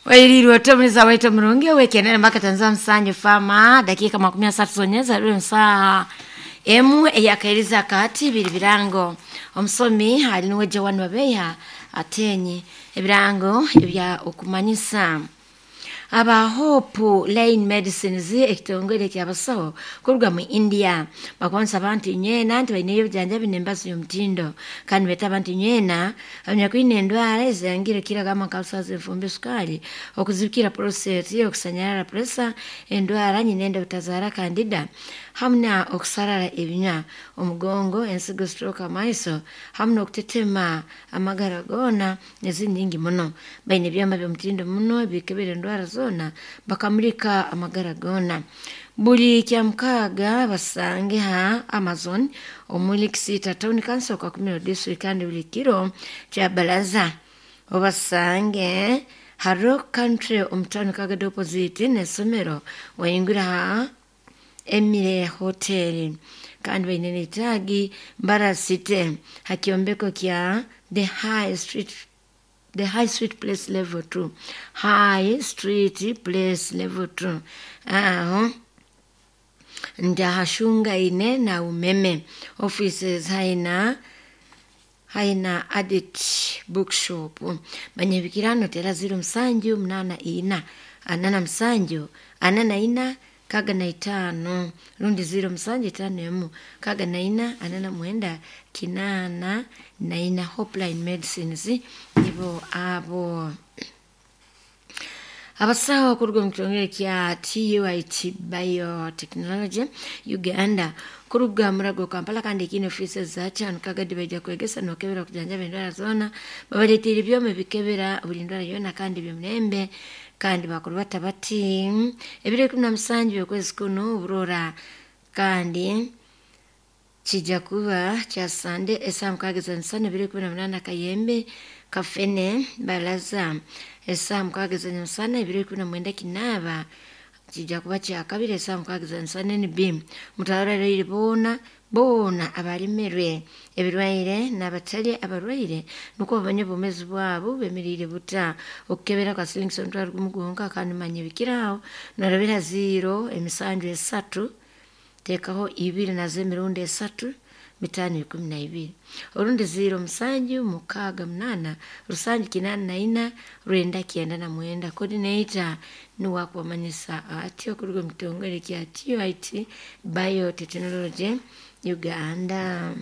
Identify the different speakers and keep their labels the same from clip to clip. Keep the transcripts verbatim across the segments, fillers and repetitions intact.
Speaker 1: Wailirwa tomuliza waito murungi wekenene mpaka tanza msanyu fama dakika makumi asatu zonyeza lwe nsaa emu eyakairiza kati biri birango omusomi ali niwe Joan Wabeya atenyi ebirango ebya okumanyisa aba Hope Line Medicines ekitongole kyabasawo kuruga mu India bakonsa abantu nyena nti baineyo obujanjabi n'embazo y'omutindo kandi beeta abantu nyena abanyakwine endwara ezangire kira gamba nka ulcers, enfumbi, sukari, okuzibikira prostate, okusanyarara pressure, endwara nyinenda obutazaara candida hamu na okusarara ebinywa, omugongo, ensigo, stroke, amaiso hamu n'okutetema amagara goona n'ezindi nyingi muno. Baine ebyoma by'omutindo muno ebikebera endwara zoona bakamulika amagara goona. Buli kyamukaaga basange ha Amazon omuli Kisiita Town Council Kakumiro District kandi buli kiro kya baraza obasange ha Rock Country omu town Kagadi opposite n'essomero wayingura ha Emire Hotel kandi baine n'etaagi Mbara City ha kyombeko kya The High Street The High Street Place Level two. High Street Place Level two. Aho ndahashungaine na umeme offices haina haina adit bookshop banyebikirano tera ziro musanju munana ina anana musanju anana ina kaga na itano rundi ziro musanju itano emu kaga na ina anana mwenda kinana na ina Hopeline Medicines nibo abo abasawo kuruga omu kitongole kya T U I T Biotechnology Uganda kuruga Murago Kampala kandi ekine offices za kyanu Kagadi baija kwegesa n'okebera okujanjaba endwara zoona babaleetiire ebyoma ebikebera buli ndwara yoona kandi by'omulembe kandi bakurubata bati ebiro ikumi na musanju by'okwezi kunu burora kandi kijja kuba kya Sande esaaha mukaaga ez'emisana ebiro ikumi na munaana Kayembe Kafene Baraza esaaha mukaaga ez'emisana ebiro ikumi na mwenda Kinaaba kijja kuba kya kabiri esaaha mukaaga ez'emisana N B mutwarire boona boona abalemerwe ebirwaire n'abatali abarwaire nukwo bamanye obwomeezi bwabo bemeriire buta okukebera kwa silingi omutwaro gumu gwonka kandi manya ebikiraho norabira ziro emisanju esatu teekaho ibiri nazo emirundi esatu bitaano ikumi na ibiri orundi ziro musanju mukaaga munaana rusanju kinaana na ina rwenda kyenda na mwenda coordinator niwe akubamanyisa ati okuruga omu kitongole kya T U I T Biotechnology Uganda.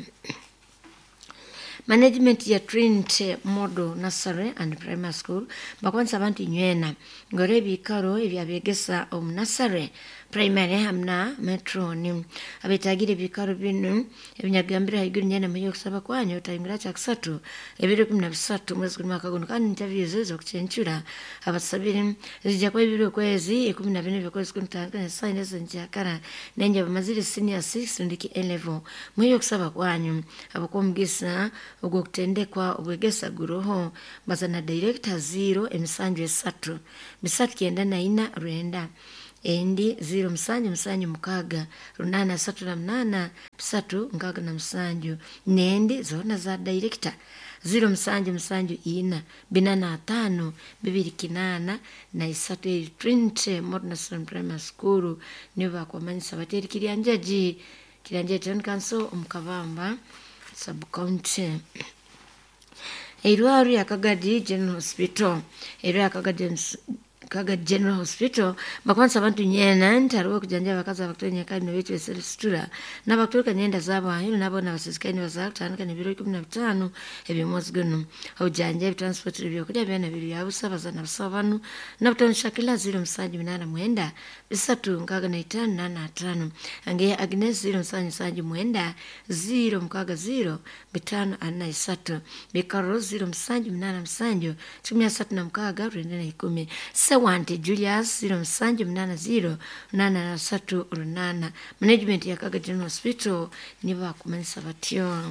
Speaker 1: Management ya Trinity Model Nursery and Primary School bakwanisa abantu nywena ngore ebikaro ebyabegesa omu nursery primary hamu na matron abetagire ebikaro binu ebinyagambire haiguru nyena muyo okusaba kwanyu otayingira kyakusatu ebiro ikumi na bisatu mwezi guni mwaka guno kandi interviews ez'okucencura abasabire zijja kuba ebiro okwezi ikumi na bina by'okwezi kumi tandika n'esaaha ez'enkyakara nenje bamazire senior six rundiki A level muyo okusaba kwanyu abakwomugisa ogw'okutendekwa obwegesa guroho bazana director ziro emisanju esatu bisatu kyenda na ina rwenda endi ziro musanju musanju mukaaga runana asatu na munana bisatu nkaaga na musanju nendi zoona za director ziro musanju musanju ina binana atano bibiri kinana na isatu eri Trinity Model Nursery Primary School nibo bakwamanyisa bati eri Kiryanjaji Kiryanjaji Town Council omu Kabamba sub county. Eirwaro ya Kagadi General Hospital eirwaro ya Kagadi Kagadi General Hospital bakwanisa abantu nyena nti hariho okujanjaba abakazi abakutonya kandi nibeetwa esitura n'abakuturuka nyenda zaabo aheeru n'aboona abasisikaine bazaara kutandika n'ebiro ikumi na bitaano eby'omwezi guno obujanjabi transport ebyokurya byona biri bya busa bazaana busaho banu n'obutono Shakila ziro musanju munaana mwenda bisatu nkaaga na itaano naana ataano Angeya Agnes ziro musanju musanju mwenda ziro mukaaga ziro bitaano ana na isatu Bikaro ziro musanju munaana musanju kikumi asatu na mukaaga rwenda na ikumi Sewante Julius ziro musanju munana ziro munana na satu runana management ya Kaga General Hospital nibo bakumanyisa batyo.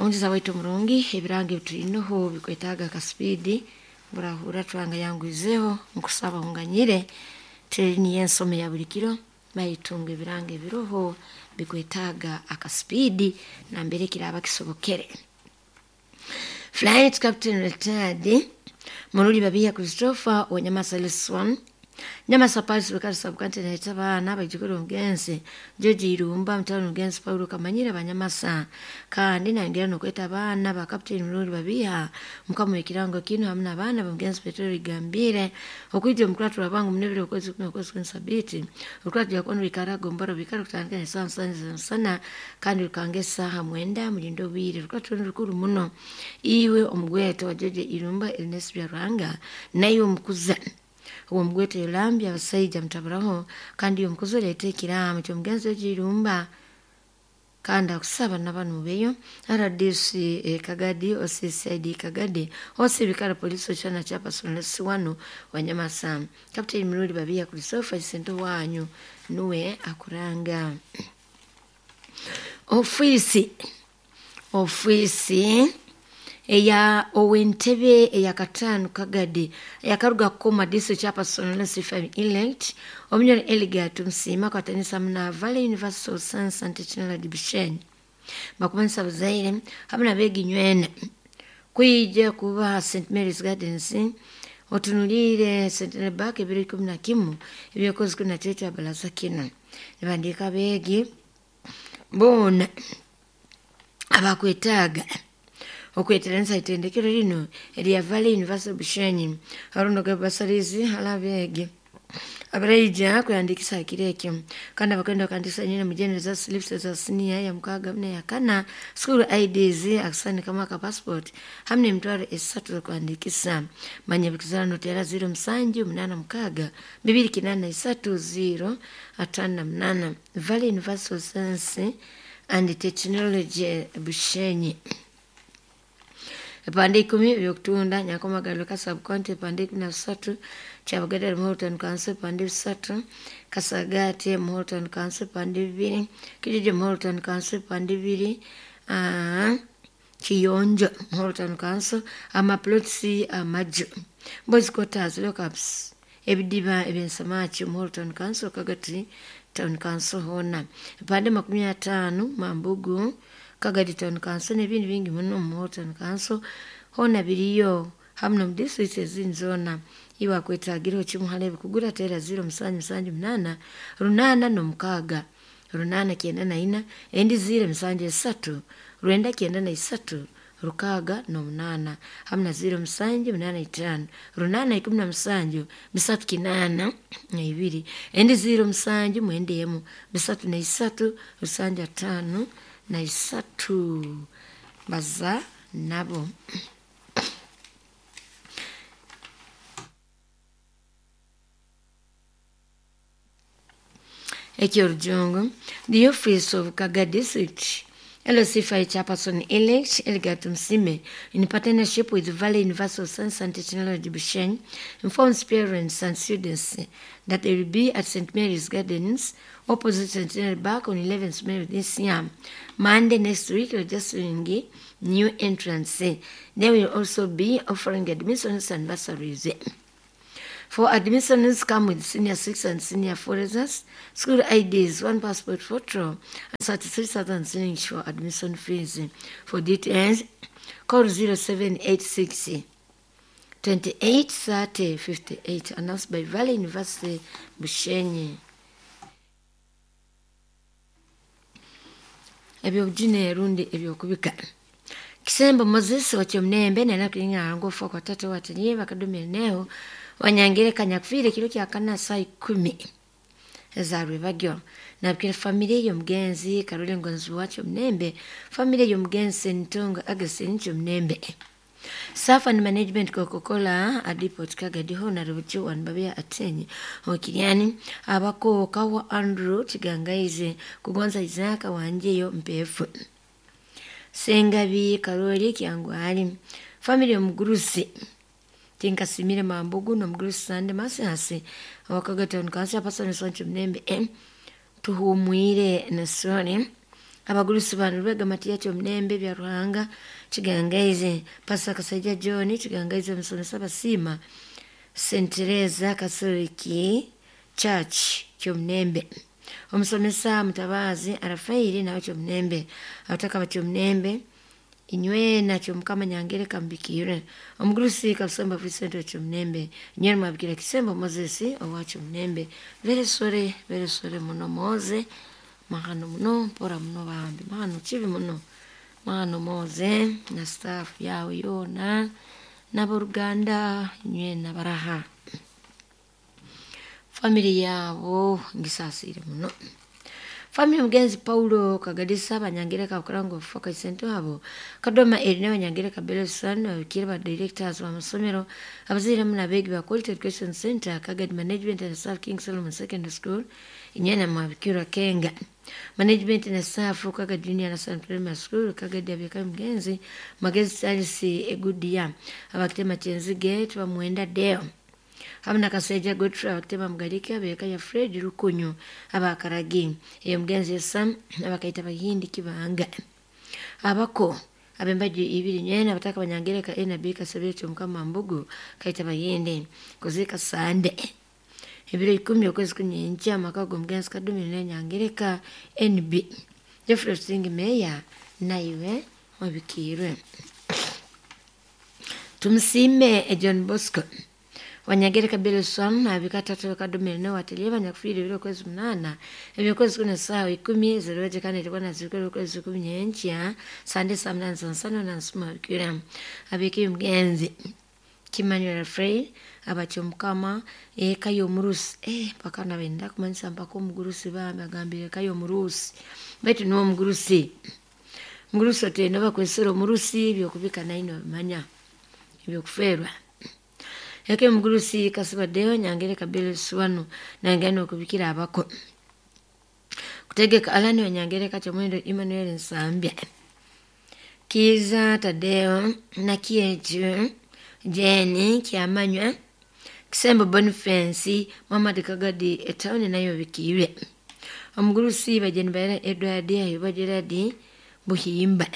Speaker 1: Omugiza waitu omurungi ebirango ebitulinoho bikwetaaga akasipidi burahura twanga yangwizeho nkusaba unganyire teri niyo ensomo ya buli kiro baitunga ebirango ebiroho bikwetaaga akasipidi nambere kiraba kisobokere. Flight Captain retired Muruli Babiya Christopher wa Nyamasa Liswan Nyamasa Paris Bukari Sabukante na abaana baijukuru omugenzi George Irumba mutano omugenzi Paulo Kamanyira Banyamasa kandi nayongera nokweta abaana ba Captain Muruli Babiha mukama w'ekirango kino hamwe n'abaana b'omugenzi Petero Igambire okwija omukuratu lwabangu munebire okwezi kumi okwezi kumi sabiti okuratu jakono bikarago mbaro bikara kutandika n'esaaha musanju z'omusana kandi rukanga esaaha mwenda mulindo obwire rukuratu runo rukuru muno iwe omugweto wa George Irumba Ernest Byaruhanga naiwe omukuza uwo mugwete yolambya abasaija mutaburaho kandi uyo mukuzi oleeta ekiraamo ky'omugenzi Ogirumba kandi akusaba nabanu beyo R D C eh, Kagadi O C C I D Kagadi O C Bikara Polisi chana chapa sonlesi wano Wanyamasa Captain Muruli Babiya Christopher Sento wanyu nuwe akuranga ofisi ofisi eya owentebe eyakataano Kagadi eyakaruga kukoma district chairperson Lucifer elect omunyoro Eligat Musiima kwatanisa muna Valley University of Science and Technology Bushenyi bakumanisa buzaire hamwe nabeginywene kwija kuba Saint Mary's Gardens otunulire Centenary Park ebiro ikumi na kimu ebyokwezi kumi na tatu abalaza kino nibandiika abeegi boona abakwetaaga okweteranisa itendekero lino erya Valley University Bushenyi arunoga basarizi halabeegi abaraija kuyandikisa akiro ekyo kandi abakwenda bakandikisa nyina mujene za slips za senior ya mukaaga mne ya kana school I Ds akasani kama ka passport hamne emitwaro esatu z'okuhandikisa manya bikizana notera zero musanju munana mukaaga bibiri kinana isatu zero atano na munana Valley University of Science and Technology Bushenyi epande ikumi ebyokutunda Nyankomagaliro Kasabcounty epande ikumi na bisatu Kyabagadde Muhoro Town Council epande bisatu Kasagate Muhoro Town Council epande bibiri Kijiji Muhoro Town Council epande bibiri uh, Kiyonjo Muhoro Town Council amaplots amaju Boys Quarters lockups ebidiba ebyensamaki Muhoro Town Council Kagati Town Council hona epande makumi ataano Mambugu Kagadi Town Council n'ebindi bingi muno mu Town Council hona biriyo hamwe mu district ezindi zoona iwe akwetagiraho kimu hali ebikugura tera zero musanju musanju munana runana n'omukaaga runana kyenda na ina endi zero musanju esatu rwenda kyenda na isatu rukaaga n'omunaana hamwe na zero musanju munana itaano runana ikumi na musanju bisatu kinaana na ibiri endi zero musanju mwenda emu bisatu na isatu rusanju ataano na isatu baza nabo ekyorujungu the office of Kaga District L C five chairperson elect Elgat Msime in partnership with Valley University of Science and Technology Bushenyi informs parents and students that they will be at Saint Mary's Gardens opposite Centenary Park on eleventh May this year. Monday next week, registering new entrants. They will also be offering admissions and bursaries. For admissions come with senior six and senior four results, school I Ds, one passport photo, and thirty-three thousand shillings for admission fees. For details, call zero seven eight six twenty-eight thirty fifty-eight. Announced by Valley University Bushenyi. Ebyokujuna erundi ebyokubika. Kisembo Moses wakyomnembe nena kulinga ngofa kwa tata wataniye bakadumire neo wanyangire kanyakufire kiro kya kana saa ikumi ezarwe bagyo nabwira familia y'omugenzi Karole Ngonzi wakyo mnembe familia y'omugenzi Ntonga Augustine Kyomnembe Safa and Management Coca-Cola adipot Kagadi hona rubucho wanbabia atenyi okiriani abako kawa Andrew Kigangaize kugonza Isaka wanjeyo mpefu Sengabi Karoli Kyangwali family y'omugurusi Tinkasimire Mambugu n'omugurusi Sande Masasi awakagata nkansi apasani soncho mnembe eh, tuhumwire nasoni abagurusi bano Lwega Matiya Kyomnembe bya Ruhanga Kigangaize Pasa Kasaija John Kigangaize musomesa Basima Saint Teresa Catholic Church Kyomnembe omusomesa Mutabazi Arafairi nawe Kyomnembe abataka ba Kyomnembe Inywena kyomukama nyangereka mbikire omugurusi Kabusemba Vincent Kyomunembe inywena mwabikira Kisembo Moses owa Kyomunembe. Veresore veresore muno Moze mahano muno mpora muno bambi mahano kibi muno mahano Moze na staff yawe yona n'aboruganda inywena baraha family yabo ngisasire muno. Family mugenzi Paulo Kagadisa banyangereka kurango foka isento abo Kadoma Erina banyangereka Belson abikira ba directors ba masomero abazire muna begi ba Quality Education Center Kagadi Management and Staff King Solomon Secondary School inyana mwabikira Kenga Management na Staff Kagadi Junior na San Primary School Kagadi abika mugenzi Magezi Charles Egudia abakitema Chenzige tubamwenda Deo hamna Kaseja Godfrey abakitema Mugalike abeka ya Fred Rukunyu abakaragi eyo mugenzi Sam abakaita Bahindi Kibanga abako abembaji ibiri nyena bataka banyangereka N B Kasabire Mukama Mbugu kaita Bahindi kuzika Sande ebiro ikumi okwezi kunyenja amakago mugenzi Kadumi nenyangereka N B Jeffrey Sing Meya naiwe wabikirwe. Tumusime John Bosco wanyagereka Belson abikatatu Kadumi no watelye banyakufiri biro kwezi munana ebyo kwezi kuna sawa ikumi zeroje kandi ilikuwa zikoro kwezi kumi nyencha sande saa munane sansano na nsuma bikira abiki mgenzi Kimanuel Frey abacho mukama eka yomurusi eh paka nabenda kumanyisa mpaka omugurusi bambi agambire eka yomurusi baitu niwo omugurusi mugurusi otenda bakwesera omurusi byokubika naino bimanya ebyokuferwa yake mugurusi kasibadeo nyangereka Belson nangano okubikira abako kutegeka alani wanyangereka Kyomwendo Emmanuel Nsambya Kiza Tadeo na Kieju Jeni Kyamanywa Kisembo Boniface Muhammad Kagadi etawuni nayo bikirwe omugurusi bajeni baira Edward Ayoba Gerard Buhimba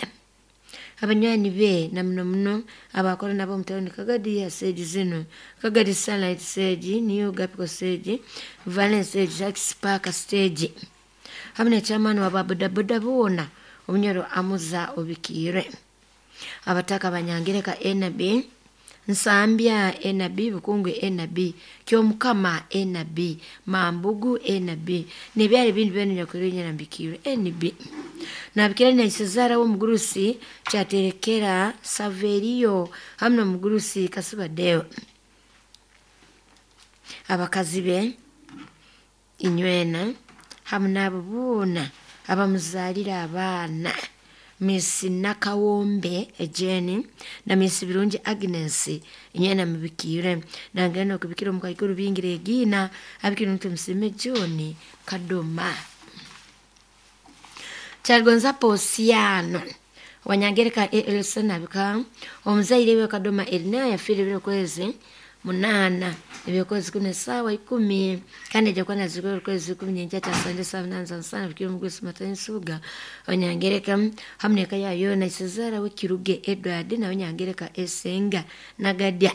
Speaker 1: abanywani be na muno muno abakora nabo mutawuni Kagadi ya stage zino Kagadi Sunlight stage New Gapiko stage Valence stage Jacques Park stage hamwe chairman wa bodaboda bona omunyoro amuza obikire abataka banyangereka N B Nsambya N B Bukungwe N B Kyomukama N B Mambugu N B nebyali bintu benu nyakurunya nambikire N B nabikira na Cesara wo mugurusi cyaterekera Saverio hamwe mugurusi Kasibadeo abakazi be inywena hamwe nabo bona abamuzalira abana Miss Nakawombe Jenny na Miss Birungi Agnes inyana mubikire nangeno kubikira mukaikuru bingire gina abikira mtu msime John Kadoma Chargonza Posiano wanyangereka Elson abika omuzaire we Kadoma Elina yafire biro kwezi munana ebyokwezi kune sawa ikumi kandi jakuwa na zikoro kwezi kumi nyenja cha sande sawa nanza sana bikiro mugwesi matansuga wanyangereka hamneka ya yona Cesara we Kiruge Edward na wanyangereka Esenga Nagadia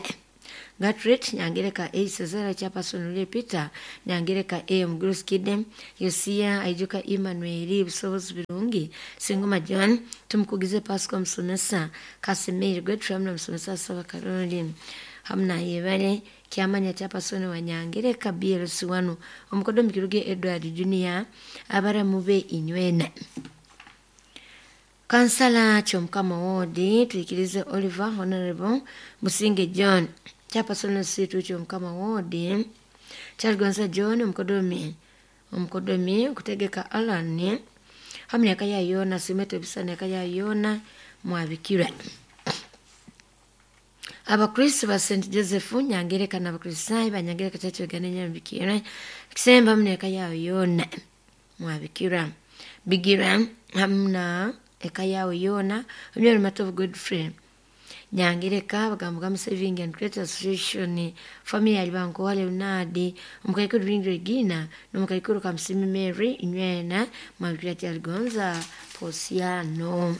Speaker 1: Gatret nyangereka A Cesara Chapason ule Peter nyangereka A Mgurusi Kidem Yosia Aijuka Emmanuel Busobozi Birungi Singoma John tumukugize Pascal Msomesa Kasimir Godfrey na Msomesa Saba Karoli hamna yebale kyamanya Chapason wanyangereka B L C wano omukodo Mikiruge Edward Junior abara mube inywena Kansala Kyomukama Wodi tuikirize Oliver Honorable Musinge John Chapason situ Kyomukama Wodi Chargonza John omukodomi omukodomi kutegeka Alan hamna kaya yona simeto bisana kaya yona mwabikira Abakristo ba Saint Joseph nyangereka na Abakristo banyangereka chacho ganenya mbikira kisemba mneka yao yona mwabikira bigira hamna eka yao yona omyalo matovu Godfrey nyangereka bagamba Saving and Credit Association family alibanko wale unadi omukaikuru Regina n'omukaikuru Kamsimi Mary inywena mwabikira Chargonza Posiano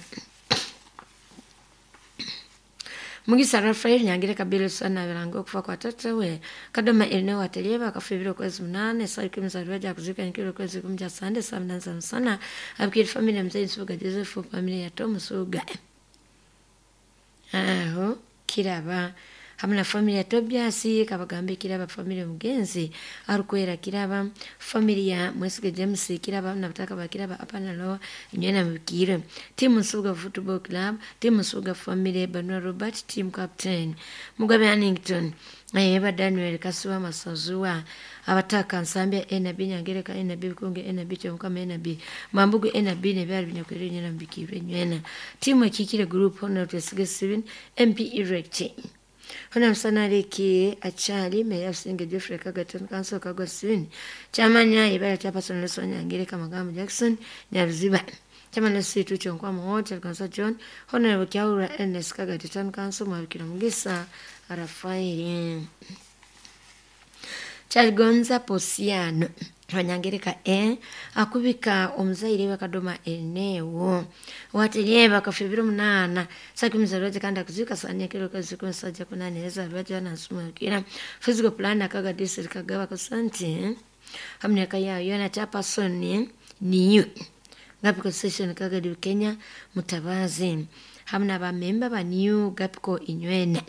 Speaker 1: Mugisa Rafael nyangereka Belson abirango okufa kwa tata we Kadoma Elina watelieba akafa ibiro kwezi munane saa ikumi za rwaja kuzika nikiro kwezi kumi cha sande saa munane za msana abikiri familia mzee Nsubuga Joseph familia ya Tom Suga. Aho Kiraba hamwe na family ya Tobias Kabagambe Kiraba, family ya Mugenzi Arukwera Kiraba, family ya Mwesige James Kiraba na bataka ba Kiraba apana lo nywena mubikire. Timu Nsubuga Football Club, timu Nsubuga family Banwa Robert team captain Mugabe Hannington Eba Daniel Kasuwa Masazuwa abataka Nsambya N B Nyangereka N B Bukunge N B Kyomukama N B Mambugu N B nebyali binyakwere nywena mubikire nywena. Timu Ekikire Group Honor Twesige Steven M P Erect Hona msanariki achali meya Businge Geoffrey Kagaton Council Kagwa Steven Chamanya ibara cha Person Nelson Nyangereka Magambo Jackson Nyaruziba Chama Nelson Tucho Nkwamo Hotel Council John Honorable Kyaura Ernest Kagaton Council Mwabikira Mugisa Rafael Chaligonza Posiano Wanyangereka e akubika omuzaire bakadoma enewo waterye bakafibira munana sakimiza kandi akuzika sanya kero kazi konsaja kunaneza baja nasumukira physical plan akaga district kagaba kasanti hamne kaya yona chapa soni niyo Gapiko session kaga di Kenya mutabazi hamna ba member ba new Gapiko inywene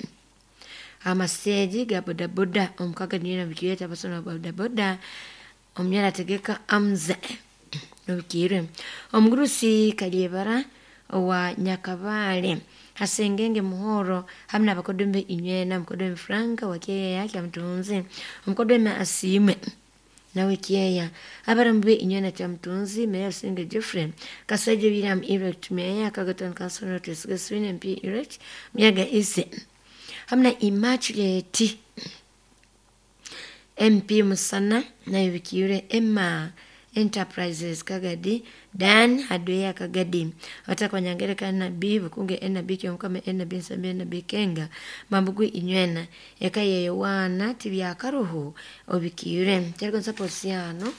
Speaker 1: amaseji ga boda boda omukaga niyo nabikiyeta basona boda boda omnyala tegeka amze nobikire omugurusi kalyebara owa Nyakabale Hasengenge Muhoro hamna abakodombe inywena mukodombe Franka wakeya yake mtunzi omukodombe asime nawe kieya abarambe inywena cha mtunzi meya Businge Geoffrey Kasaje William Erect meya Kagaton Council Notice Gaswin M P Erect Myaga Ise hamna Immaculate M P Musana na Bikiure Emma Enterprises Kagadi Dan Hadweya Kagadi watakwa Nyangereka na B Bukunge N B Kyomukama N B Nsambya N B Kenga Mambugu inywena eka yeyowana tibyakaruhu obikiure kyaligonza Posiano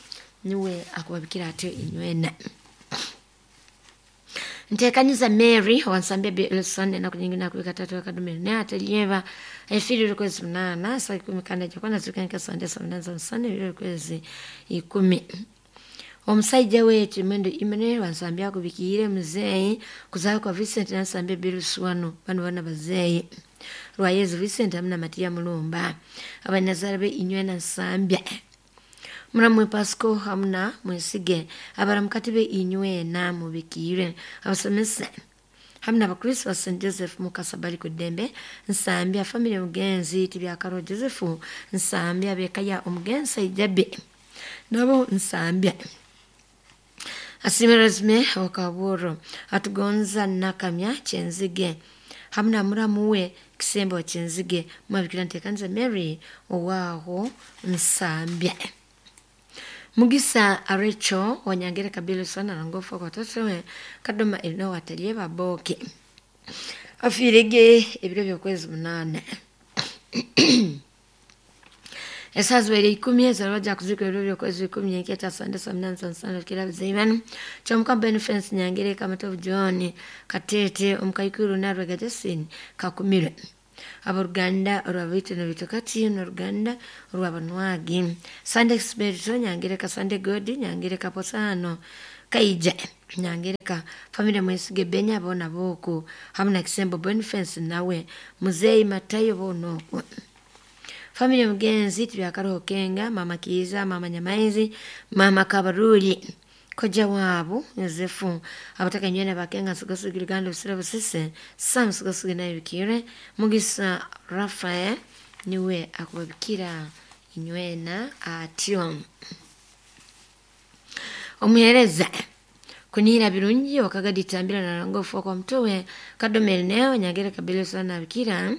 Speaker 1: niwe akubabikira atyo inywena. Ntekanyiza Mary wansambia B Elson na kunyingina kubika tatu akadumira ne atelyeva efiri kwezi munana saa ikumi kanda jakwana zukanika sande saa munana za musana ebiro kwezi ikumi. Omusajja wetu Mendo Emmanuel wansambia kubikire muzeeyi kuzaako kwa Vincent nansambia Biluswano bano bana bazeeyi lwa Yezu Vincent amuna Matia Mulumba abanazara be inywena Nsambya muramwe Pasco hamna Mwesige abaramukati be inywena mubikire abasomesa hamna abakristo ba Saint Joseph Mukasabali kudembe Nsambya family Mugenzi tibyakaro Joseph Nsambya bekaya omugenzi Ijabe nabo Nsambya asimerezme wakaburo atugonza nakamya Chenzige hamna muramuwe Kisembo Chenzige mwabikira ntekanza Mary owaho Nsambya Mugisa Arecho wanyangere kabilo sana na ngofu kwa tatowe kadoma eno watalie baboke afirege ebiro byokwezi munane esazwere ikumi ezalwaja kuzika ebiro byokwezi ikumi nketa sande saa munane saa nsano kira bizeibanu kyomuka Benefence Nyangere Kamatovu John Katete omukaikuru Narwega Justin Kakumire aboruganda olwabaitu nobitokati n'oruganda olwabanwagi Sunday Spirito Nyangereka Sunday God Nyangereka Posano Kaija Nyangereka family Mwesige Benya bona boku hamna Kisembo Boniface nawe Muzeyi Matayo bonoku family Mugenzi tibyakaroho Kenga mama Kiza mama Nyamaizi mama Kabaruli koja wabo Yosefu abataka nywena bakenga sugasugi Uganda usira busise Sam sugasugi nayo bikire Mugisa Rafael niwe akubabikira inywena atyo omuhereza kunira birungi wakagadi tambira na rangofu kwa mtowe kadomere neo Nyangere kabilo sana bikira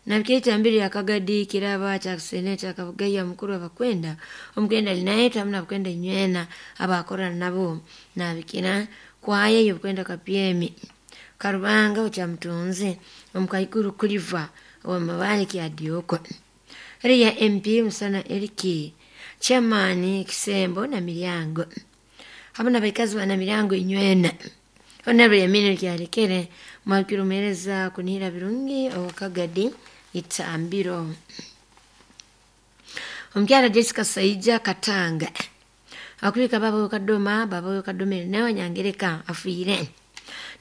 Speaker 1: nabikira tambiri akagadi kiraba cha seneta akavugaya mukuru abakwenda omugenda linaye tamna abakwenda inywena abakora nabo nabikira kwaya yokwenda kapyemi karubanga ucha mtunzi omukaikuru kuliva wa mabali ki adioko riya M P Musana Eriki chairman Kisembo na Milyango hamna baikazi wana Milyango inywena honorable Yamini kyalekere mwakirumereza kunira birungi okagadi itambiro omukyala Jessica Saija Katanga akubika baba kadoma baba kadome nawe Nyangereka afiire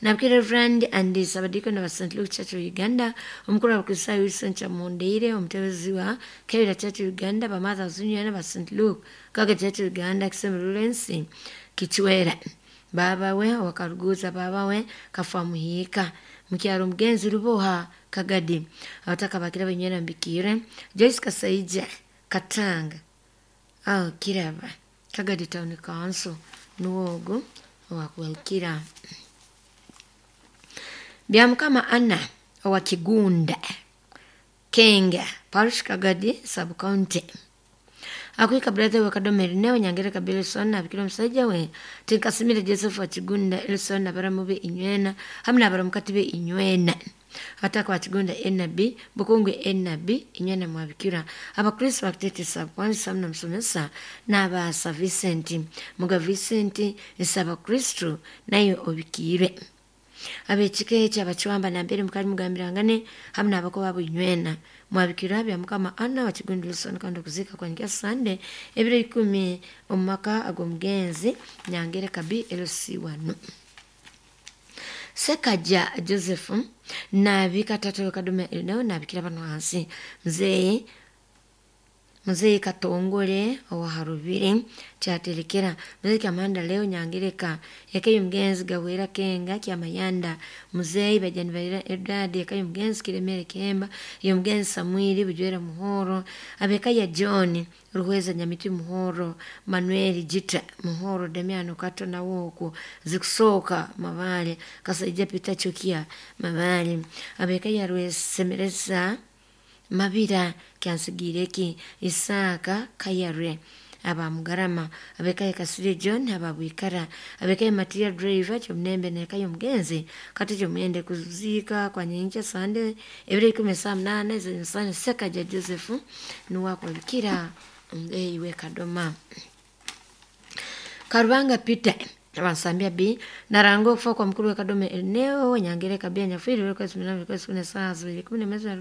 Speaker 1: Nabikira Reverend and Sabadiko na Saint Luke Church of Uganda, omukuru w'Abakristayo Wilson Chamundeire, omutebezi wa Kebera Church of Uganda, Bamatha Zunywena ba Saint Luke Kaga Church of Uganda, Kisembe Lawrence Kichwera, baba we wakaruguza baba we kafa muhika mukyalo mugenzi Ruboha Kagadi. Abataka bakira benywera mbikire Joyce Kasaija Katanga aho Kiraba Kagadi Town Council nuwogo wakuwalukira. Byamukama Anna owa Kigunda Kenga Parish Kagadi Sub County akwika brother wa Kadoma Erneo Nyangere Kabelson abikira omusajja we Tinkasimire Joseph wa Kigunda Elson abaramu be inywena hamwe n'abaramukati be inywena ataka wa Kigunda N B Bukungwe N B inywena mwabikira abakristo bakitete sabwanisa mna msomesa n'abasa Vincent Muga Vincent nsaba Kristo nayo obikire abekike kyabacwamba nambere mukali mugambirangane hamwe n'abako babo inywena mwabikira bya Mukama Anna wa Kigunda Wilson kandi kuzika kwa nkia Sunday ebiro ikumi omumaka ag'omugenzi Nyangere Kabi L C one. Sekaja Joseph nabika tata Kadoma Erneo nabikira bano hansi mzee Mzee Katongole owa Harubiri kyaterekera mzee Kamanda leo Nyangereka yakayo mugenzi Gawera Kenga Kyamayanda mzee Bajani Balira Eldad yakayo mugenzi Kiremere Kemba yo mugenzi Samueli Bujwera Muhoro abeka ya John Ruhweza Nyamiti Muhoro Manuel Jita Muhoro Damiano Kato na woku zikusoka Mabale Kasaija Peter Chukia Mabale abeka ya Rwesemereza Mabira Kyansigireki Isaka Kayare abamugarama abekaye Kasire John ababwikara abekaye Matia Driver kyomnembe nekayo mugenzi kati kyomende kuzika kwa nyencha Sande ebire ikumi saa mnane zinsane Sekaja Joseph nuwakubikira iwe Kadoma. Karubanga Peter abansambia B narango okufa kwa mukuru wa Kadoma Erneo Nyangere Kabia Nyafiri weko simina weko sikune saa zibiri kumi na mwezi wa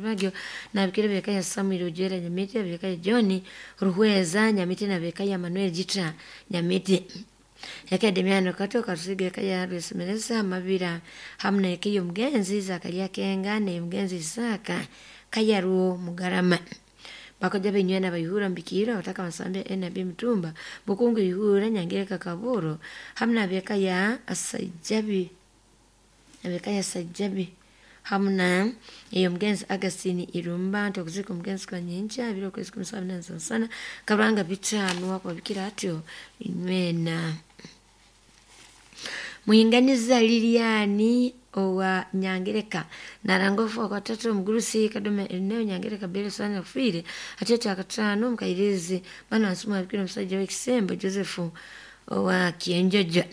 Speaker 1: na bikire bekaya Samuel Ojera Nyamiti bekaya John Ruhweza Nyamiti na bekaya Manuel Jita Nyamiti yake Demiano Kato Karusiga kaya Rwesemereza Mabira hamna yake mugenzi Zakaria Kenga ne mugenzi Isaka Kayaruo Mugarama bakoja benywena bayihura mbikira bataka basambe N B Mutumba Bukungu ihura Nyangereka Kaburo hamna beka ya Asajabi abeka ya Sajabi hamna iyo mugenzi Agustine Irumba tokuzika mugenzi kwa nyencha biro kwezi kumsabina sana kabranga bitano wakubikira atyo inywena. Muhinganiza Liliani owa Nyangereka narangofu kwa tatu mgurusi Kadoma Erneo Nyangereka bele sana fire atete akatano mkairizi bana asuma bikira msajja w'Ekisembo Joseph owa Kienjojo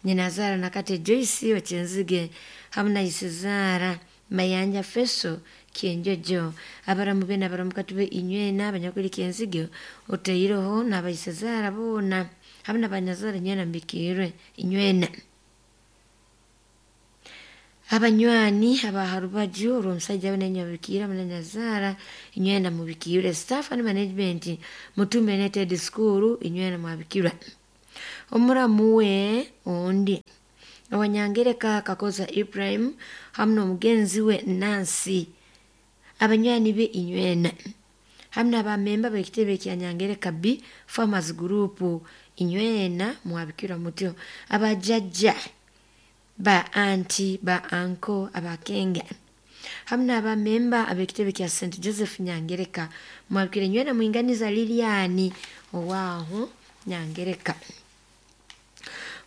Speaker 1: nyinazara nakate Joyce wa Chenzige hamna Isizara Mayanja Feso Kienjojo abaramu bena abaramukati be inywena abanyakuli Kienzige oteiroho n'abaisizara bona hamna banyazara nywena mbikirwe inywena. Abanywani abaharubaju olw'omusajja we bikira munanyazara inywena mubikirwe staff and management Mutumba United School inywena mwabikirwa omuramu we ondi Owanyangereka Kakoza Ibrahim hamwe n'omugenzi we Nancy abanywani be inywena hamwe n'abamemba b'ekitebe kya Nyangereka B Farmers Group inywena mwabikirwa mutyo abajjajja ba anti ba anko abakenga hamwe n'abamemba ab'ekitebe kya Saint Joseph Nyangereka mwabikira inywena mwinganiza Liliani owaaho Nyangereka.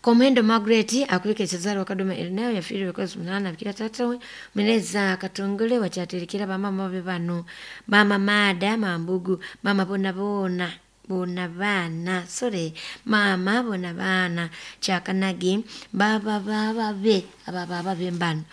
Speaker 1: Komendo Margaret akulika Cesare wa Kadoma Erneo yafiirwe kwezi munana bikira tata we Meneza Katongole wachatirikira bamama be bano mama Mada Mambugu mama bona bona bona bana sorry mama bona bana Chakanagi baba baba be aba baba be mbano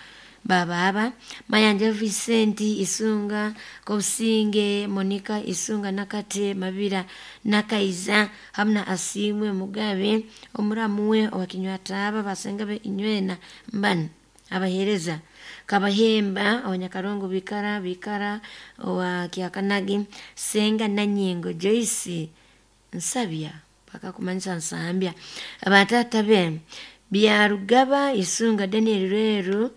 Speaker 1: baba aba Mayanja Vicente Isunga Kobusinge Monica Isunga Nakate Mabira Nakaiza hamna Asimwe Mugabe omuramuwe owakinywataba basenga be inywena mbano abahereza Kabahemba abanyakarongo bikara bikara owa Kiakanagi Senga Nanyingo Joyce Nsabya paka kumanyisa Nsambya abatata be Byarugaba Isunga Daniel Rweru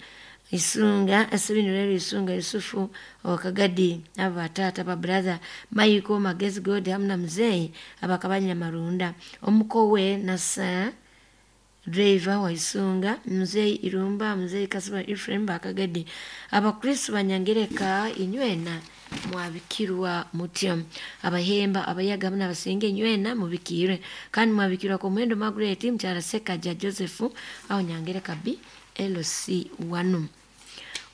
Speaker 1: Isunga Asabini Rweru Isunga Yusufu Wakagadi abo batata ba brother Maiko Magezi God hamwe na mzee abakabanya Marunda omukowe nasa driver wa Isunga mzee Irumba mzee Kasima Ephraim Bakagadi abakristo banyangereka inywena mwabikirwa mutyo abahemba abayaga hamwe n'abasinga inywena mubikirwe kandi mwabikirwa ku muhendo Margaret mukyala Sekaja Joseph aho Nyangereka B L C one.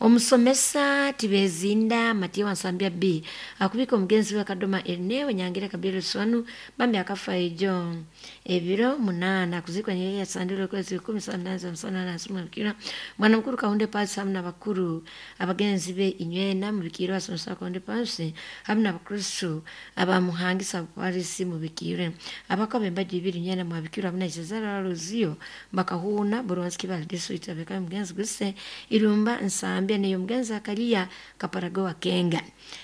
Speaker 1: Omusomesa Tibezinda Matiya Wansambya B akubika omugenzi we Kadoma Erneo Nyangereka B L C one bambi akafa ejo ebiro munana kuzikwa nyeye ya sandilo kwezi kumi sandaza msana na suma bikira mwana mukuru Kaunde Pasi hamwe n'abakuru abagenzi be inywena mubikirwe asomesa Kaunde Pasi hamwe n'abakristo abamuhangisa Parisi mubikirwe abakobe mbaji ibiri inywena mwabikirwa hamwe na Cesar Ruzio bakahuna Buronski bal district abeka mugenzi guse Irumba Nsambya niyo mugenzi akaliya Kaparago Kenga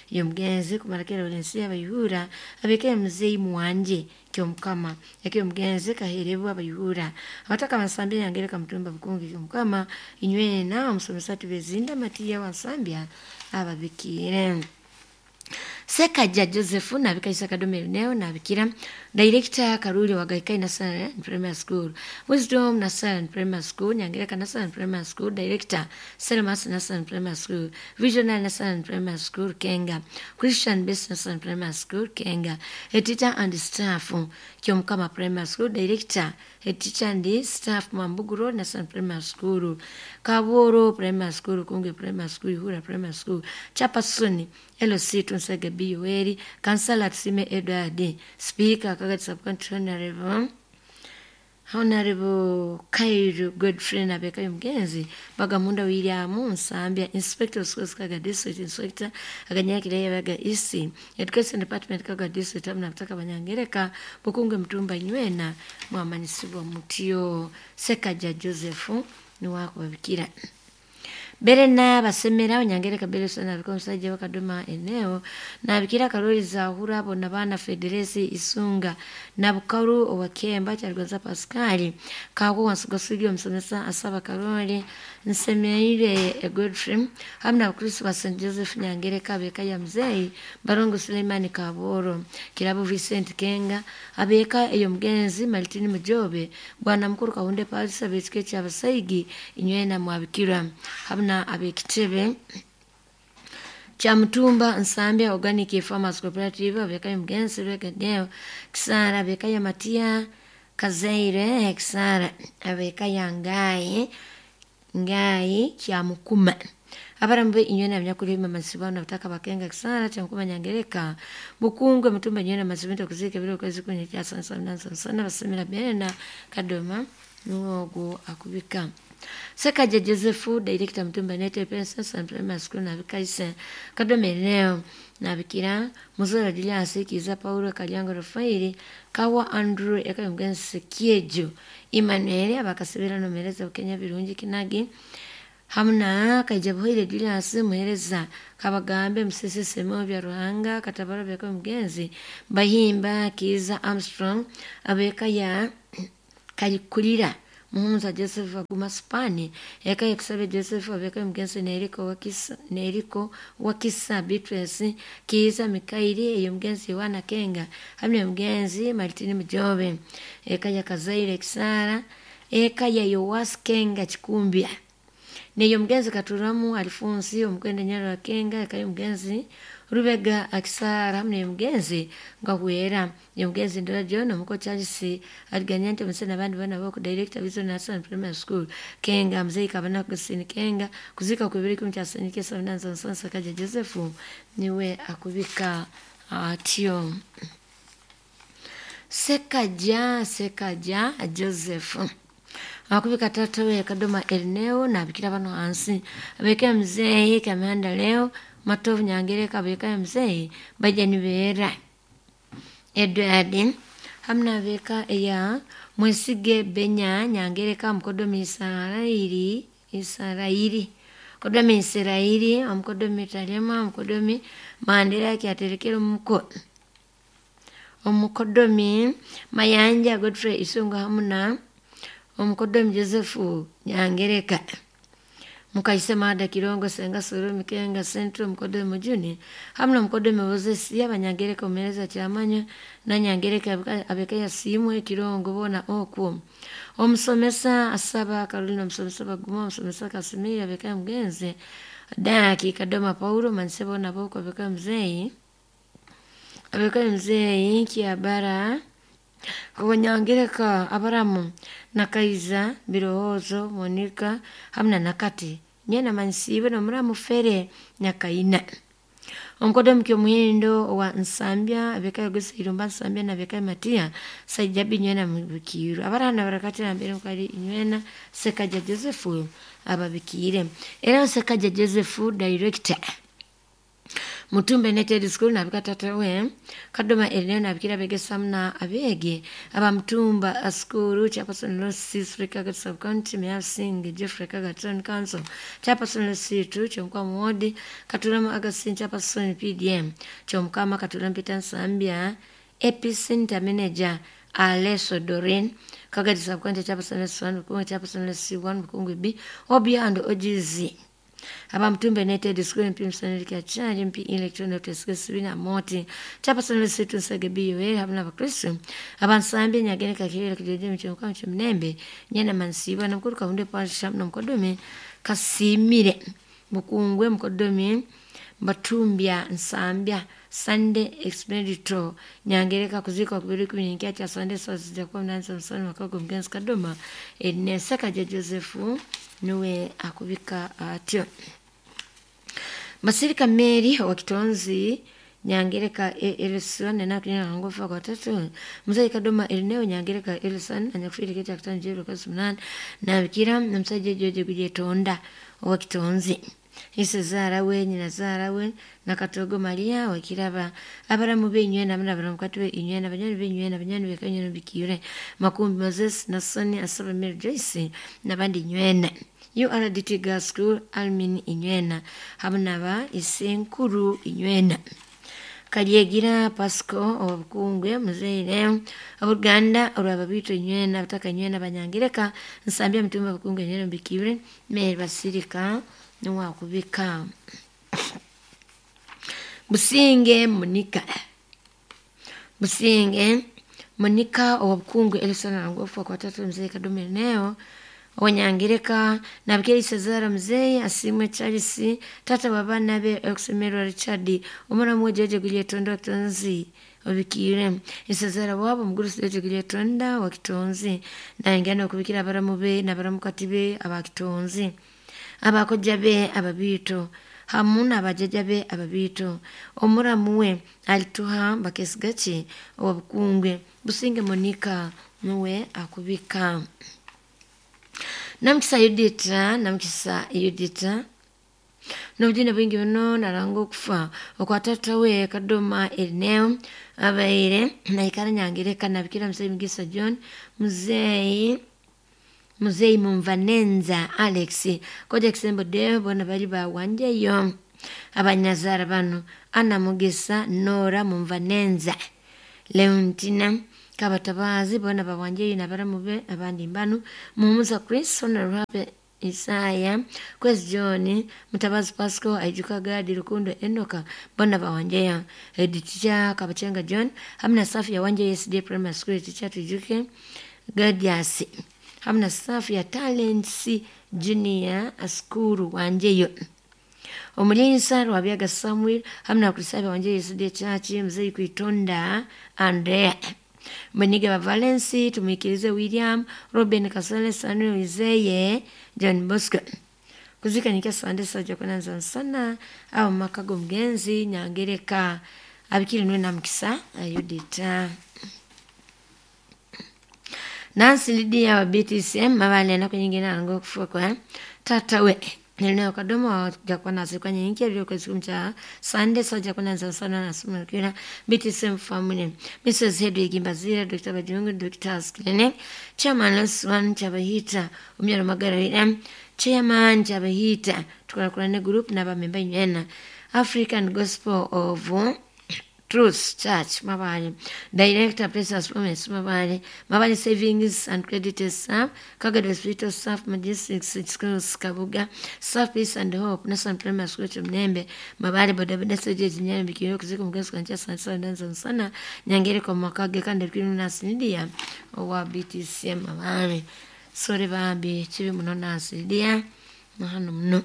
Speaker 1: iyo mugenzi kumarakera Valencia abayihura abeke mzee mwanje kyomukama yake mugenzi kaherebwa abayihura abataka Bansambya Nyangereka Mutumba Bukungi kyomukama inywena omusomesa Tibezinda Matiya Wansambya ababikire. Sekaja Joseph nabika Isaka Kadome Neo nabikira Director Karuli wa Gaikai National Primary School Wisdom National Primary School Nyangereka National Primary School Director Selmas National Primary School Visionary National Primary School Kenga Christian Base National Primary School Kenga Head Teacher and Staff Kyomukama Primary School Director Head Teacher and Staff Mambuguro National Primary School Kaboro Primary School Kunge Primary School Ihura Primary School Chapasuni L C Tunsege B Uweri Kansala Tusime Edward Speaker Kagati Sub-County Honorable Honorable Kairu Godfrey nabeka mugenzi Bagamunda William Nsambya Inspector of Schools Kaga District Inspector aganyakira yabaga East Education Department Kaga District hamwe n'abataka Banyangereka Bukunge Mutumba inywena mwamanisibwa mutyo. Sekaja Joseph niwakubabikira Berena basemera Nyangereka Beleso nabika omusajja wa Kadoma eneo nabikira Karoli Zahura abo nabana Federesi Isunga Nabukaru owakemba Kyaligonza Pascal Kawo Wansugasugyo omusomesa asaba Karoli Nsemeire Godfrey hamwe n'abakristo ba Saint Joseph Nyangereka abeka ya mzee Barongo Suleimani Kaboro Kirabo Vincent Kenga abeka eyo mugenzi Martin Mujobe bwana mukuru Kaunde Paris abetike kyabasaigi inywena mwabikira hamwe na abekitebe cha Mutumba Nsambya Organic Farmers Cooperative abeka mugenzi Rwegadeo Kisara abeka ya Matia Kazaire Kisara abeka ya Ngai Ngai kya Mukuma abarambe inywena abanyakuri mamasibano bataka bakenga Kisara cha Mukuma Nyangereka Bukungwe Mutumba inywena masibento kuzika biro kwezi kunye kya sansa sana basemera bena Kadoma nuogo akubika Sekaja Joseph Director Mutumba United Princess and Primary School nabika ise Kadome leo nabikira Muzora Julius Kiza Paulo Kalyango Rafaeli Kawa Andrew eka mugenzi Kiejo Emmanuel abakasebera nomereza Kenya birungi kinagi hamna Kajabuhire Julius muhereza Kabagambe Musese Semo bya Ruhanga Katabaro bya mugenzi Bahimba Kiza Armstrong abeka ya Kalikulira Muhunza Joseph Aguma Spani eka yakusabe Joseph abeka mugenzi Neriko wakisa Neriko wakisa Beatrice Kiza Mikaili eyo mugenzi Yohana Kenga hamwe mugenzi Martin Mujobe eka ya Kazaire Kisara eka ya Yowas Kenga Chikumbia neyo mugenzi Katuramu Alfonsi omukwenda Nyaro wa Kenga eka mugenzi Rubega Akisara hamwe mugenzi Ngahwera mugenzi Ndora John omuko Charles aliganyante musena abandi bana bako Director Vision National Primary School Kenga mzee Kabana Kusini Kenga kuzika kubiri kumcha sanike sabinanza nsansa kaja Joseph niwe akubika atyo Sekaja Sekaja Joseph akubika tata we Kadoma Erneo nabikira bano hansi abeke mzee Kamanda leo Matovu Nyangereka abeka mzee Bajani Bera Edward hamna beka eya Mwesige Benya Nyangereka mukodomi Israeli Israeli kodomi Israeli omukodomi Talema omukodomi Mandela kyaterekera omuko omukodomi Mayanja Godfrey Isunga hamuna Omukodomi Josefu Nyangereka Mukaise Mada Kirongo Senga Soro Mikenga Central Mukodomi Mujuni hamna Mukodomi Moses Abanyangereka omereza kyamanya na Nyangereka abeka yasimwe Kirongo bona okwo omusomesa asaba Karolina omusomesa baguma omusomesa Kasimiri abeka mugenzi Daki Kadoma Paulo mansebo nabo abeka mzeyi abeka mzeyi Kiabara Abanyangereka abaramu Nakaiza Birowoozo Monica hamna Nakati nyena mansibe nomuramu Fere Nyakaina Omukodomi Kyomuhendo wa Nsambya abeka Yogesa Irumba Nsambya na abeka Matia Saijabi nywena mubikiru abarana barakati mbere mukali nywena Sekaja Joseph ababikire era Sekaja Joseph director Mutumbe United School nabika tata we Kadoma Elena nabikira begesa mna abege aba Mutumba School Chairperson Losi Africa Sub County Measing Jeffrey Kagaton Council Chairperson Losi two Chomkwa Mwodi Katulama Agasin Chairperson P D M Chomkama Katulama Peter Nsambya Epicenter Manager Aleso Doreen Kagadi Sub County Chairperson Losi one Bukungu Chairperson Losi one Bukungu B Obia and O G Z Aba Mutumba United School M P Msanilika Charge M P Electronic Sibina Moti Chairperson Losi Nsage B U A hamna Bakristo aba Nsambya Nyagereka Kirere Kijeje Mchomka Mchomnembe Nyana Mansiba na mkuru Kahunde Pasha na Mkodomi Kasimire Mukungwe Mkodomi Batumbya Nsambya Sunday Expedito Nyangereka kuzika kubiri kuminyikia cha Sunday source za kwa mnanza msani makago mgenzi Kadoma Ene Sekaja Joseph nuwe akubika atyo Basirika Mary wa Kitonzi Nyangereka Elison na kunyana ngofa kwa tatu Mzee Kadoma Elineo Nyangereka Elison anyakufiri kiti akutano jero kazi mnane na bikira na msaje George Kujetonda wa Kitonzi Ise zara we nyina zara we na Katogo Maria wakiraba abaramu benywe na mna abaramu katwe inywe na banyani benywe na banyani bekanywe no bikire Makumbi Moses na Soni asaba Mary Joyce na bandi nywena U R D T Girls School Almin inywena hamna isenkuru inywena Kalyegira Pasco obukungwe muzeire abuganda olwababito inywena bataka inywena Banyangireka Nsambya Mutumba bukungwe inywena bikire Mary Basirika nuwa kubika Businge Monica Businge Monica obukungwe Elson ngofu kwa tatu mzee Kadome neo Wanyangireka na bikeri Cesar mzee asimwe Charles tata baba nabe okusemerwa Richard omwana mwejeje Gulyetonda Kitonzi obikire Cesar wabo muguru Jeje Gulyetonda wa Kitonzi na ngana okubikira abaramu be nabaramukati be abakitonzi abakoja be ababito hamuna abajaja be ababito omuramu we alituha bakesigachi obukungwe Businge Monica nuwe akubika Namkisa Yudita Namkisa Yudita Nobujina bwingi buno naranga okufa okwatata we Kadoma Elineo abaire naikara Nyangereka nabikira mzee Mugisa John mzee Mzee Mumvanenza Alex koja kisembo deo bona bali ba wanjeyo abanyazara bano Ana Mugisa Nora Mumvanenza Leontina Kabatabazi bona ba wanjeyo na baramu be abandi mbanu Mumuza Chris Honorable Isaya Kwezi John Mutabazi Pasco Aijuka Gadi Rukundo Enoka bona ba wanjeyo Editicha Kabachenga John hamna safi ya wanje S D Primary School teacher Tujuke Gadiasi hamna safi ya Talents Junior School wanjeyo Omulinsa Rwabyaga Samuel hamna kusabe wanjeyo S D Church mzee Kuitonda Andrea Meniga wa Valensi tumikirize William Robin Kasole Samuel Izeye John Bosco kuzika nikia sande saja kunanza sana au makago mgenzi Nyangereka abikiri nwe na Mkisa Yudita Nancy Lydia wa B T C M mabale na kunyingina ngo kufa kwa tata we Nileo Kadoma jakuwa na siku nyingi ya kwa siku mcha Sunday saja kuna sana na sumu kila B T C M family Missus Hedwig Mbazira Doctor Bajungu Doctor Clinic Chairman Loswan Chabahita Umyaro Magara William Chairman Chabahita tukora ne group na bamemba nyena African Gospel of Truth Church Mabale, Director Precious Promise Mabale, Mabale Savings and Credit Staff, Kagado Hospital Staff, Majestics Schools Kabuga, Staff Peace and Hope, National Primary School Mnembe, Mabale Bodaboda Sejeji Nyambi Kiyo Kuziko Mugezi Kancha Sansa Danza Sana, Nyangereko Makage Kande Kiru Nasi Lydia owa B T C M Mabale. Sore bambi kibi muno Nansi Lydia na hano muno.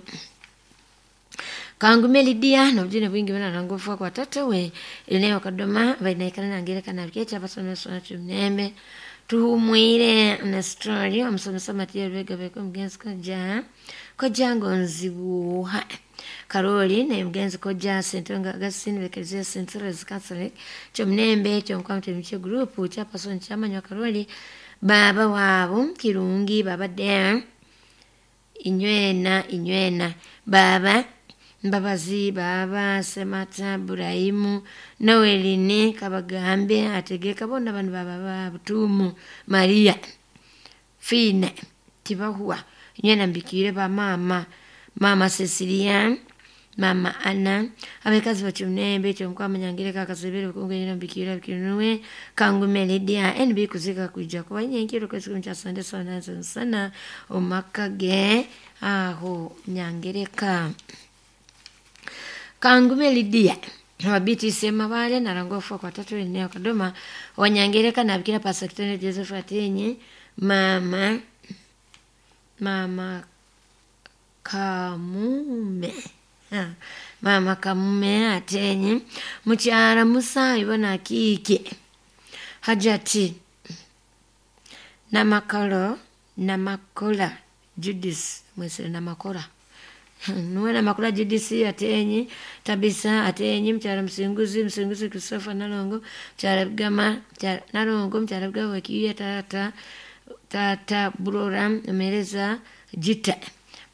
Speaker 1: Kangume Lydia na ujine bwingi bana nangofa kwa tata we eneo Kadoma bainaikana nangereka na bikecha basome sona chumnembe tuhumwire na story omusomesa Matia Rwega beko mugenzi koja koja ngonzibuha Karoli na mugenzi koja Sentonga Augustine bekezia Central Catholic chumnembe chomkwamte mche group cha person chamanywa Karoli baba wabo Kirungi baba de inywena inywena baba Mbabazi baba Semata Burahimu Noeline Kabagambe ategeka bona bano baba babutumu Maria Fine Tibahuwa inywena mbikire ba mama mama Cecilia mama Anna abekazi bachumnembe chomkwama nyangireka akasebere kungenya mbikira bikinuwe Kangume Lydia N B kuzika kuja kwa nyenkiro kwezi cha Sunday sana sana omakage aho nyangereka Kangume Lydia wa B T C Mabale na rangofu kwa tatu eneo Kadoma wanyangereka na bikira Pastor Kitende Joseph Atenye mama mama Kamume ha, mama Kamume Atenye mukyara Musa ibona kiki Hajati Namakolo Namakola Judith mwese Namakora nuwe Namakula Judith Atenye Tabisa Atenye mkyara Msinguzi Msinguzi Christopher Nalongo mkyara Bugama mkyara Nalongo mkyara Bugama kiya tata tata Burora Mereza Jita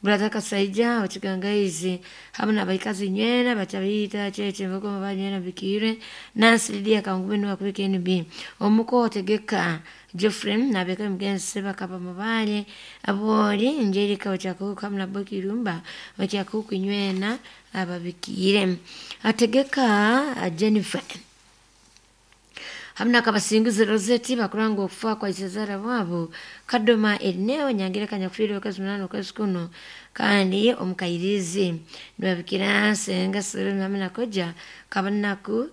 Speaker 1: Brother Kasaija ochigangaizi hamwe nabaikazi nywena bachabita cheche mboko mabanywena bikire Nancy Lydia Kangume no akubika N B omuko otegeka Geoffrey nabeka mugenzi Sebakapa Mabale abori njerika ochakuka hamwe na Bokirumba ochakuka nywena ababikire ategeka Jennifer hamna kabasinguzi Rosette bakuranga okufa kwa isezara wabo Kadoma eneo nyangereka nyakufiri okazi munano okazi kuno kandi omukairizi nibabikira senga sere hamna koja kabanaku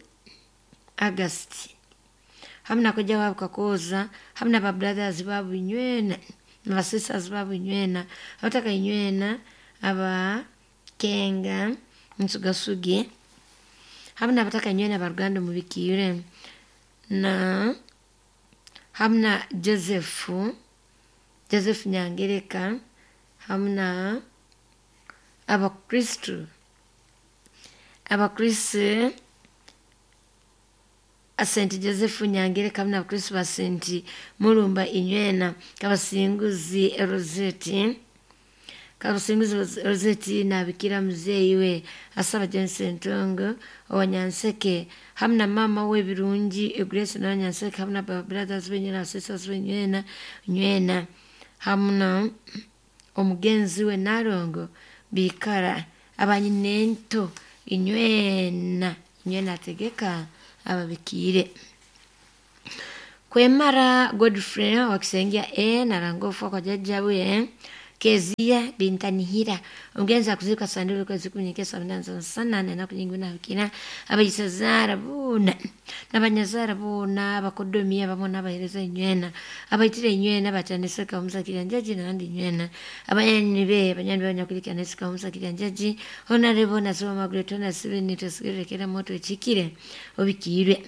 Speaker 1: August hamna koja wabo kakoza hamna ba brothers babu nywena na sisters babu nywena abataka nywena aba kenga nsugasuge hamna abataka nywena baruganda mubikire na hamna Joseph Joseph Nyangereka hamna abakristu abakristu Saint Joseph Nyangereka hamna abakristu ba Saint Mulumba inywena kabasinguzi Rosette kabasinguzi Rosette nabikira muzeyi we asaba Johnson Tongo owanyanseke hamna mama we birungi Grace na Nyanseke hamna brothers benyena sisters benyena nywena hamna omugenzi we Nalongo bikara abanyinento inywena inywena tegeka ababikire kwemara Godfrey wakisengia e narangofu kwa jajja we Kezia bintanihira omugenzi akuzika sandulu kwezi kunyekesa mnanza sana na kunyinguna bikina abayisazara buna nabanyazara buna abakodomia bamona abahereza inywena abayitire inywena bataneseka omusakira njaji nandi inywena abanyani be abanyani banyakulika neseka omusakira njaji honorable nasoma Margaret na seven tasigerekera moto echikire obikirwe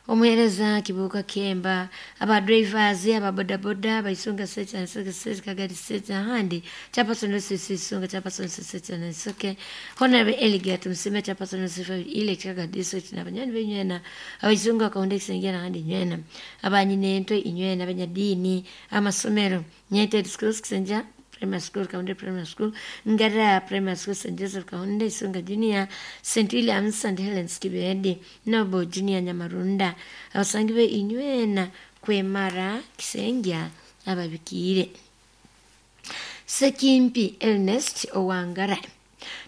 Speaker 1: omuhereza Kibuka Kemba aba drivers aba boda boda baisunga secha nsoke secha kagari secha handi chapaso no sisi sunga chapaso no secha nsoke honorable Eligat msime chapaso no sifa ile kagari district na banyani benywena abaisunga kaunde kisengia na handi nywena abanyinento inywena abanyadini amasomero nyete schools kisenja Primary School, Kaunde Primary School, Ngara Primary School, Saint Joseph Kaunde, Isunga Junior, Saint Williams, Saint Helens Kibedi, Nobo Junior Nyamarunda, abasangiwe inywena kwemara Kisengya ababikire. Sekimpi Ernest Owangara.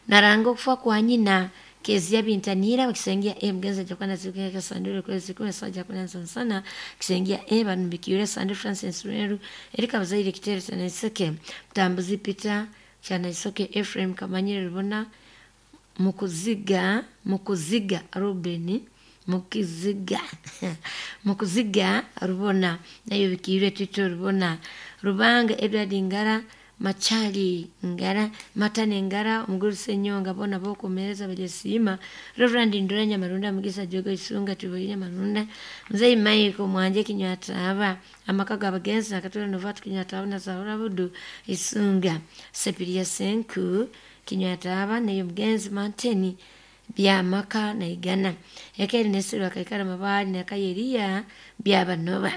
Speaker 1: Naranga okufa kwa nyina Kezia Bintanira wakisengia e mgenza jakwana zikeka sandure kwezi kumi saja kuna sana kisengia e banubikire Sandure Francis Rueru Erika Bazaire Kitere sana iseke Mtambuzi Peter chana isoke Ephraim Kamanyire Rubona Mukuziga Mukuziga Rubeni Mukiziga Mukuziga Rubona nayo bikire Tito Rubona Rubanga Edward Ngara Machali Ngara Matane Ngara Omuguru Senyonga bona bokumereza bajesima Reverend Nduranya Marunda Mugisa Jogo Isunga Tuboyinya Marunda Mzee Maiko Mwanje Kinywataba amaka gabagenzi nakatula Novatu Kinywataba na Zahura Budu Isunga Sepiria Senku Kinywataba nayo mgenzi Manteni byamaka na igana ekeri nesiru akaikara mabali na kayeria byabanoba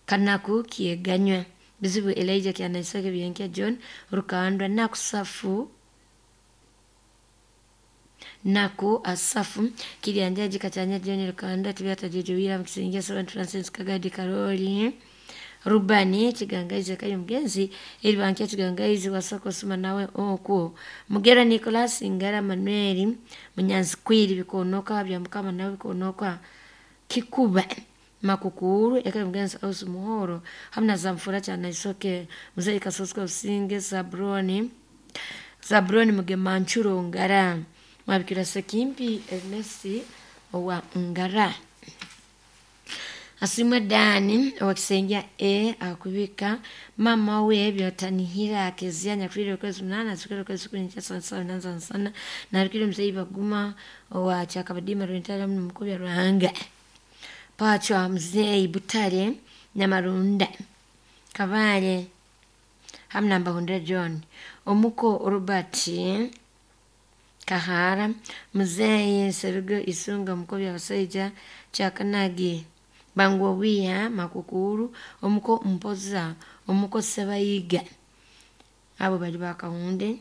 Speaker 1: kanaku kieganywa bizibu Elijah kyanaisake byenkia John Rukandwa nakusafu naku asafu kilianjaji kachanya John Rukandwa tibyata jojo wira mkisingia Servant Francis Kagadi Karoli Rubani Chigangaizi kayo mgenzi ilibankia Chigangaizi wasako suma nawe okwo Mugera Nicholas Ngara Manuel Munyanzi kwiri bikonoka bya mukama nawe bikonoka kikuba makukuru eka mgenzi ausu muhoro hamna zamfura chana isoke mzee kasosko usinge Sabroni Sabroni mugemanchuro Ngara mwabikira Sekimpi Ernesti wa Ngara Asimwe Dani wakisengia e akubika mama we byotanihira kezia nyakwire kwezi munana zikero kwezi kuni cha sana sana sana na rikire mzee baguma wa chakabadima rwentara mukubya ruhanga Pachwa mzee Butare Nyamarunda Kavale hamna Mbahundra John Omuko Robert Kahara mzee Serugo Isunga mukobya basaija Chakanagi Bangwa Makukuru Omuko Mpoza Omuko Sebayiga abo bali bakahunde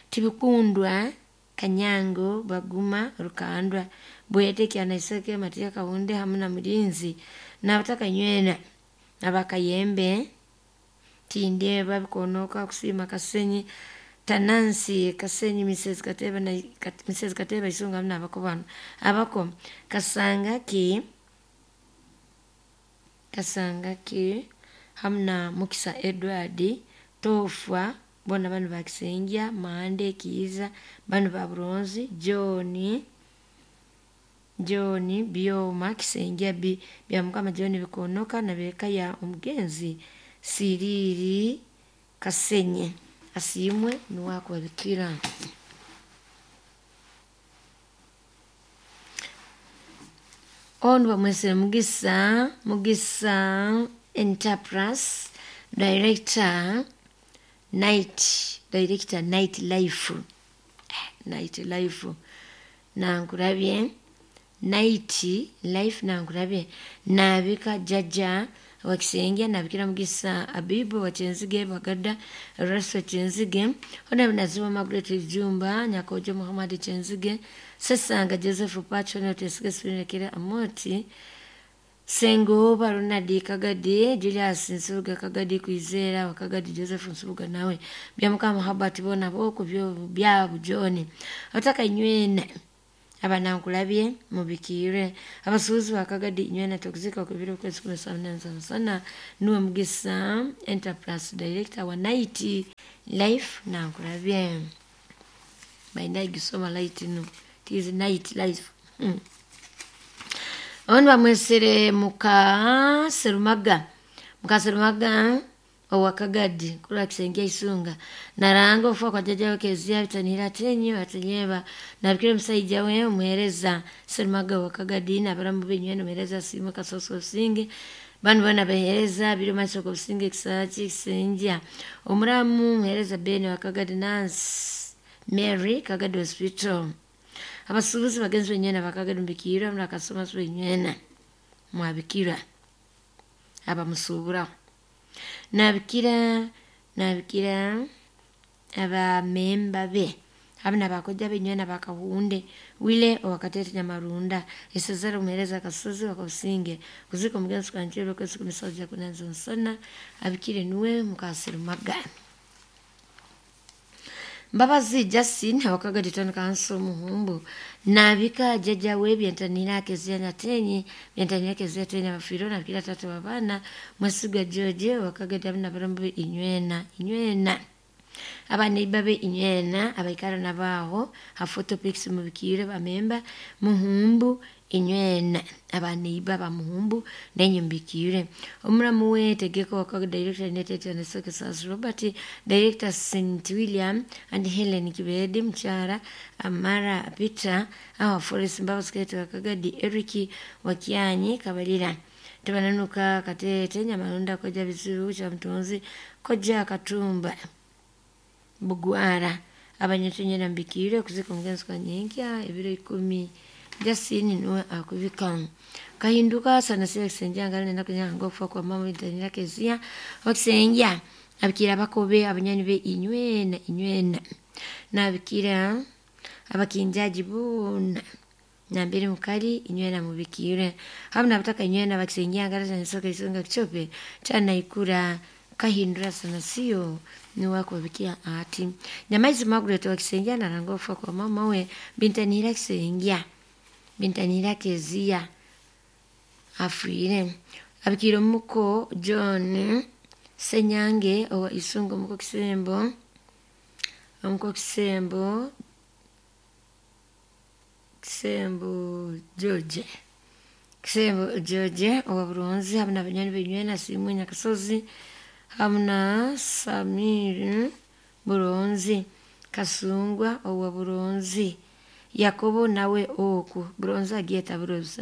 Speaker 1: Tibikundwa Kanyango Baguma Rukandwa Bwete kyanaiseke Matia Kahunde hamna Mulinzi nabataka nywena abakayembe tinde babikonoka kusima Kasenyi Tanansi Kasenyi Missus Kateba na Missus Kateba Isunga hamna abako bano abako Kasanga ki Kasanga ki hamna Mukisa Edward Tofwa bona bano bakisengia Mande Kiza bano ba Bronze John John Bioma kisengia bi bya mukama John bikonoka na beka ya omugenzi Siriri Kasenye asimwe nuwako babikira Ono bamwesere Mugisa Mugisa Enterprise Director Night Director Night Life Night Life nankurabye Night Life nankurabye nabika jaja wakisengia nabikira Mugisa Abibu wachenzige Bagada Raso Chenzige ona binaziwa Margaret Jumba Nyakojo Muhammad Chenzige Sesanga Joseph Pacho na Tesige Sunekira Amoti Sengo Barunadi Kagadi Julius Nsubuga Kagadi Kwizera wakagadi Joseph Nsubuga nawe bya Muhabat bona boko byo bya bujoni otaka inywene abanankulabye mubikire abasuuzi bakagadi inywena tokuzika kubiro kwezi kumi na sana sana nuwe Mugisa Enterprise Director wa Night Life nankulabye baina gisoma light no it is night life mm. Ono bamwesere muka Serumaga muka Serumaga owakagadi kula kisengia Isunga naranga ofa kwa jaja wakezia bitanira tenyo atenyeba nabikire musaija we omuhereza Serumaga wakagadi nabaramu binywene omuhereza simu kasoso singe banu bana behereza biro masoko businge kisachi kisenja omuramu muhereza Bene wakagadi Nancy Mary Kagadi Hospital abasuubuzi bagenzi benywena bakagadi mbikira mnakasoma benywena mwabikira abamusubura nabikira nabikira abamemba be abana bakoja benywena bakahunde wile wakatete nyamarunda isezera umuhereza kasozi wakabusinge kuziko mugenzi kanjiro kwezi kumisaja kunanza nsana abikire nuwe mukasirumaga Mbabazi Justin wakaga ditano kanso muhumbu nabika jaja we byentanira kezia nyatenyi byentanira kezia tenya bafiro na kila tatu wabana Mwesiga George wakaga damna barombo inywena inywena abana babe inywena abaikara nabaho ha photopics mubikire bamemba muhumbu inywena abaneiba bamuhumbu nenye mbikire omuramu we tegeko wakaga director United and Sokesas Robert director Saint William and Helen Kibedi Mchara Amara Peter awa Forest Mbabazi wakaga di Eric Wakianyi Kabalira tebananuka katete nyamalunda koja bizibu cha mtunzi koja katumba bugwara abanyetunyera mbikire kuzika omugenzi kwa nyenkya ebiro ikumi Justin nuwe akubika kahinduka sana siya kisenja ngale nenda kunyanga okufa kwa mama itanira kezia wakisenja abikira bakobe abanyani be inywena inywena nabikira abakinjaji bona nambere mukali inywena mubikire hamna bataka inywena bakisenja ngale sana soka isonga kichope chana ikura kahindura sana sio niwakubabikia ati nyamaizi Margaret wakisenja naranga okufa kwa mama we bintanira kisenja bintanira kezia afwire abikira omuko John Senyange owa isunga omuko kisembo omuko kisembo kisembo George kisembo George owa Buronzi hamna banyani benywena simwe Nyakasozi hamna Samir Buronzi Kasungwa owa Buronzi Yakobo nawe oku Buronzi agieta Buronzi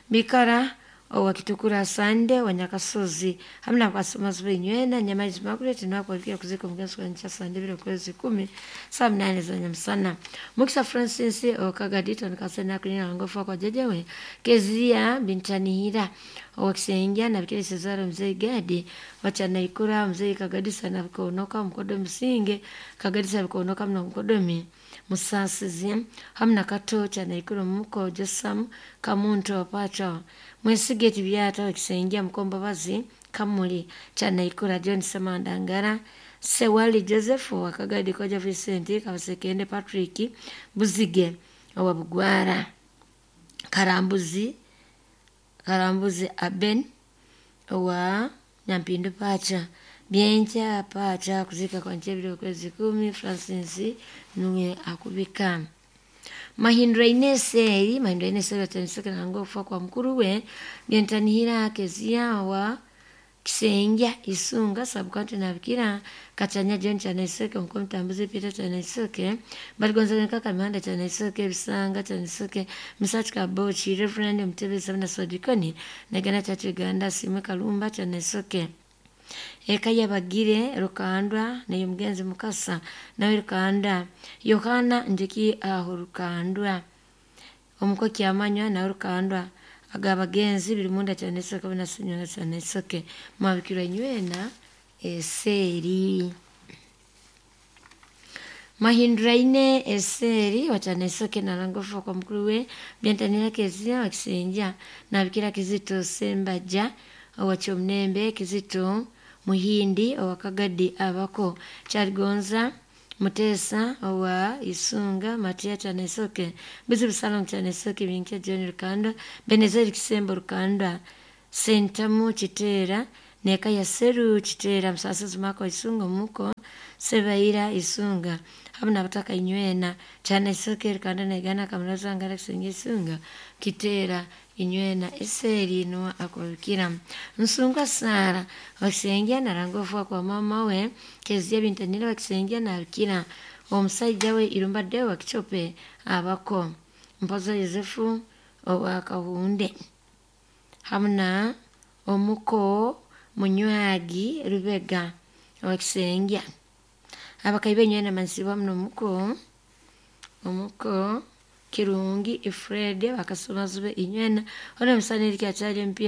Speaker 1: Bikara owa Kitukura Sande wa Nyakasozi hamna kwasoma benywena nyamaizi Margaret nwakwalikia kuzika omugenzi kwa ncha Sande biro kwezi kumi saa mnane za nyamsana Mukisa Francis okagadito nikasena kulina ngofa kwa jejewe Kezia bintanihira owakisenja na bikele Cesaro mzee Gadi wachana ikura mzee kagadisa na bikonoka mkodo msinge kagadisa bikonoka mna mkodomi musasizi hamna kato chana ikura muko Josam kamuntu wapacha mwesige tibyata wakisenja mkomba bazi kamuli chana ikura John Samandangara Sewali Joseph wakagadi koja Vincent kabasekende Patrick Buzige owa Bugwara Karambuzi Karambuzi Aben owa Nyampindu pacha byenja pacha kuzika kwa nchebiro kwezi kumi Francis nuwe akubika Mahindra Ineseri Mahindra Ineseri atanisaka nango kufa kwa mkuru we byentanihira kezia wa Kisenja Isunga sabukanti nabikira Katanya John Chanaisoke mko mtambuzi Peter Chanaisoke Baligonza kaka Mihanda Chanaisoke Bisanga Chanaisoke Misachi Kabochi Reverend Mtebe Sabina Sodikoni Nagana Church Uganda Simwe Kalumba Chanaisoke Eka yabagire Rukandwa nayo mugenzi Mukasa nawe Rukanda Yohana Njeki aho Rukandwa omuko kyamanywa nawe Rukandwa agabagenzi biri munda Chanaisoke binasinywa Chanaisoke mwabikirwa nywena eseri Mahindra ine eseri wachanaesoke nalangofa kwa mkuru we byantanira kezia wakisenja nabikira Kizito Sembaja owachomnembe Kizito Muhindi owakagadi abako Charigonza Mutesa owa Isunga Matia Chanaisoke Bizibu Salong Chanaisoke Binkia John Rukanda Benezeri Kisembo Rukanda Sentamu Chitera Neka ya Seru Chitera Msasasi Mako Isunga Muko Sebaira Isunga hamna bataka inywena Chanaisoke Rukanda Negana Kamulaza Ngara Kisenga Isunga Kitera inywena eseri nuwa akubikira Nsunga Sara wakisengia narangofu kwa mama we Kezia bintanira wakisengia nabikira omusajja we Irumba Deo wakichope abako Mpoza Yosefu owa Kahunde hamna omuko Munywagi Rubega wakisengia abakaibe nywena mansiba muno muko omuko Kirungi Ifrede bakasoma zube inywena ona musaniri kyachali mpya.